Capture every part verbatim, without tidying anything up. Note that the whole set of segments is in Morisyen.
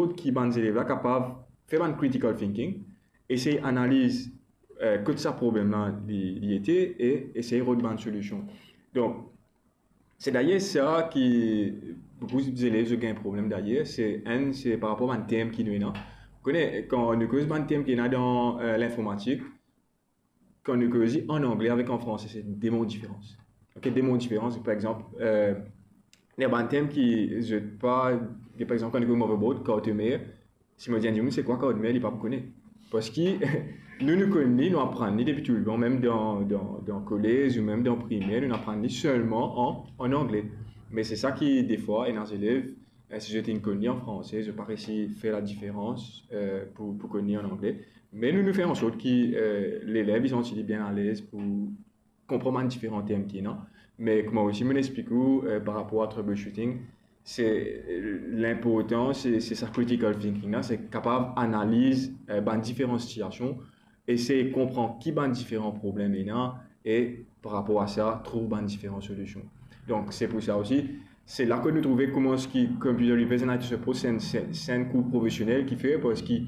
Kot ki bann zelev la kapav fer bann critical thinking, esey analiz, eh, kot sa problem la li, li ete e esey rod bann solision. Donk, se dayer sa ki boukou zelev zot gagn problem dayer, se enn, se par rapor bann term ki nou ena. Ou kone, kan nou koz bann term ki ena dan, eh, linformatik, kan nou koz li an angle avek an franse, se de mo diferans. Ok, de mo diferans, par exanp, eh, ena bann term ki zot pa, par exanp, kan nou koz motherboard, carte mère, si mo dir enn dimoun, "Se kwa carte mère?", li pa pou kone. Parski nou, nou konn li, nou aprann li depi toultan, mem dan, dan, dan kolez ou mem dan primer, nou aprann li selman an, an angle. Me se sa ki, defwa, ena zelev, eh, si zot inn konn li an franse, zot pa resi fer ladiferans, eh, pou, pou konn li an angle. Me nou, nou fer ansort ki, eh, lelev, li santi li bien alez pou konpran bann diferan term ki ena. Me kouma osi mo'nn explik ou, eh, par rapor a troubleshooting, se, eh, linportan, se, se sa critical thinking la, se kapav analiz, eh, bann diferan sitiasion, esey konpran ki bann diferan problem ena, e par rapor a sa, trouv bann diferan solision. Donk, se pou sa osi, se la kot nou trouve kouma ki Computer Repair and I T Support, se enn, se, se enn kour profesionel ki fer, parski,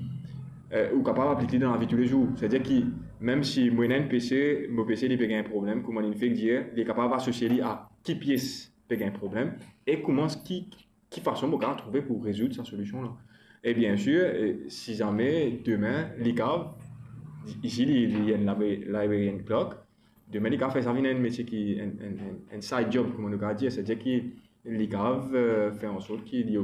eh, ou kapav aplik li dan lavi toulezour. Setadir ki, mem si mo ena enn P C, mo P C li pe gagn problem, kouma linn fek dir, li kapav asosie li a ki pies pe gagn problem, e kouma ki, ki fason mo kapav trouve pou rezoud sa solision la. E biensir, eh, si zame demin, li kapav, isi li, li enn library-, librarian clerk, demin li kapav fer sa vinn enn metie ki, enn, enn, enn, enn side job, kouma nou kapav dir, setadir ki li kapav, eh, fer ansort ki li,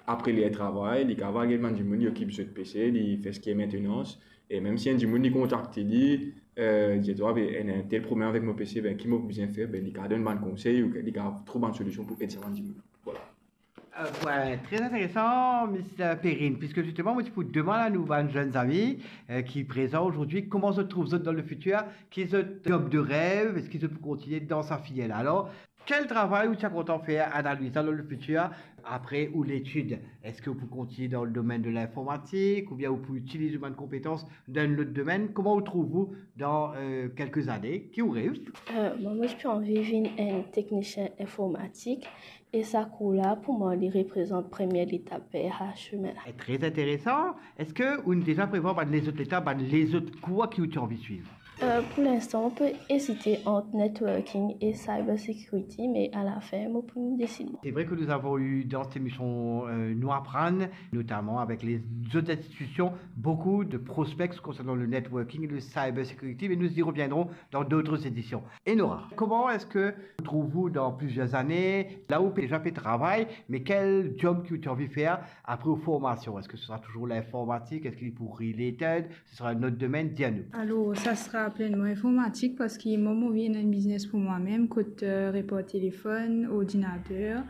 apre ler travay, li kapav al get bann dimoun, li okip zot P C, li fer seki maintenance, e mem si enn dimoun li kontakte li, eh, dir twa, "Be, ena enn tel problem avek mo P C, be, ki mo pou bizin fer?", be, li kapav donn bann konsey, ou li kapav trouv bann solision pou ed sa bann dimoun. Vwala. Euh, ouais, très intéressant, Miss Perrine, puisque justement, moi, je peux demander à nos jeunes amis, euh, qui présents aujourd'hui, comment se trouvent dans le futur, qui est votre job de rêve, est-ce qu'ils peuvent continuer dans sa filière-là ? Alors, quel travail ou ti a kontan fer, Ana Luisa, dan le fitir, apre ou letid? Eski ou pou kontigne dan le domenn de linformatik, oubien ou pou itiliz ou bann konpetans dan lot domenn? Kouma ou trouv ou dan, euh, kelke zane? Ki ou rev? Euh, mwa, mo ti anvi vinn enn teknisien informatik, e sa kour la, pou mwa, li reprezant premie letap ver sa simin la. Eh, très intéressant. Eski ou deza prevwar bann lezot letap, bann lezot kour ki ou ti anvi swiv? Euh, pou linstan, mo pe ezite ant networking e cyber security, me alafin, mo pou desid mwa. C'est vrai que nous avons eu dans cette émission, euh, Nou Aprann, notamment avec les autres institutions, beaucoup de prospects concernant le networking et le cyber security, mais nous y reviendrons dans d'autres éditions. Enora, kouma eski ou trouv ou dan plizier zane? La ou pe deza pe travay, me ki job ki ou ti anvi fer apre ou formasion? Eski se sera touzour linformatik? Eski li pou related? Se sera enn lot domenn, dir nou. Alor, sa sera plenman informatik, parski mwa, mo anvi ena enn biznes pou mwa mem, kot, euh, repar telefonn, ordinater,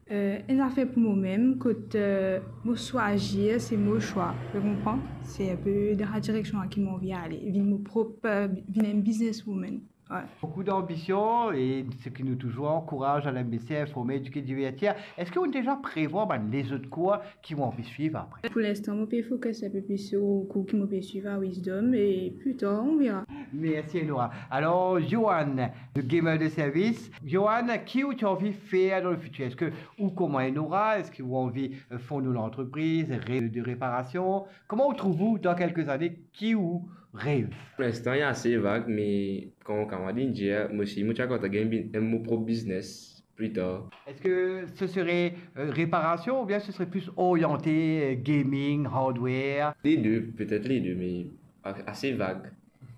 euh, enn zafer pou mo mem, kot, euh, mo swazir, se mo swa, ou konpran? Se enn pe dan sa direksion la ki mo anvi ale, vinn mo prop, euh, vinn enn businesswoman. Ouais. Boukou danbision e seki nou touzour ankouraz, Alain Besset, informe, edike, divertir. Eski ou deza prevwar bann lezot kour ki ou anvi swiv apre? Pou linstan, mo pe fokis enn pe plis lor kour ki mo pe swiv a Wisdom e pli tar, on verra. Mersi, Enora. Alor, Johan, le gamer de service. Johan, ki ou ti anvi fer dan le fitir? Eski ou kouma Enora, eski ou anvi, euh, fond ou lantrepriz, re-, de reparasion? Kouma ou trouv ou dan kelke zane? Ki ou rev? Pou linstan, li ase vag, me kan mo kamarad inn dir, mo osi, mo ti a kontan gagn bi-, mo prop biznes pli tar. Eski se sere, euh, reparasion oubien se sere plis oriante, euh, gaming, hardware? Les deux, peut-être les deux, mais a-, assez vague.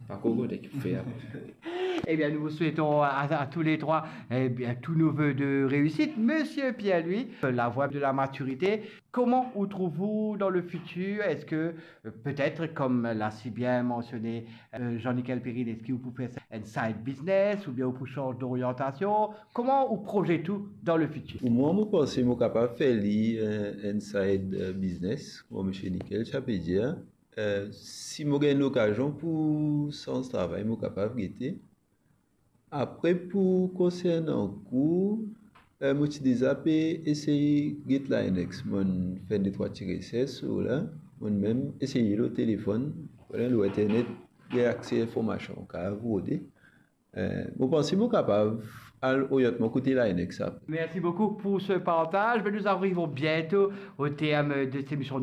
Pas encore convaincu pour faire. Eh bien, nous vous souhaitons à, à tous les trois, eh bien, tous nos vœux de réussite. Monsieur Pierre-Louis, euh, la voie de la maturité, kouma ou trouv ou dan le fitir? Eski, euh, peut-être, comme l'a si bien mentionné, euh, Jean-Nickel Perrine, eski ou pou fer enn side business oubien ou pou sanz doriantasion? Kouma ou prozet ou dan le fitir? Pou mwa, mo panse mo kapav fer li, euh, enn side, euh, business, kouma Misie Nickel ti a pe dir. Euh, si mo gagn lokazion pou sanz travay, mo kapav gete. Apre, pou konsernan kour, eh, mo ti deza pe esey get Linux. Mo'nn fer de trwa ti resers lor la. Mo'nn mem eseye lor telefonn. Voilà, lor internet, gagn akse informasion, kapav rode. Eh, mo panse mo kapav al oriant mwa kote Linux sa. Merci beaucoup pour ce partage. Ben, nous arrivons bientôt au terme de cette émission.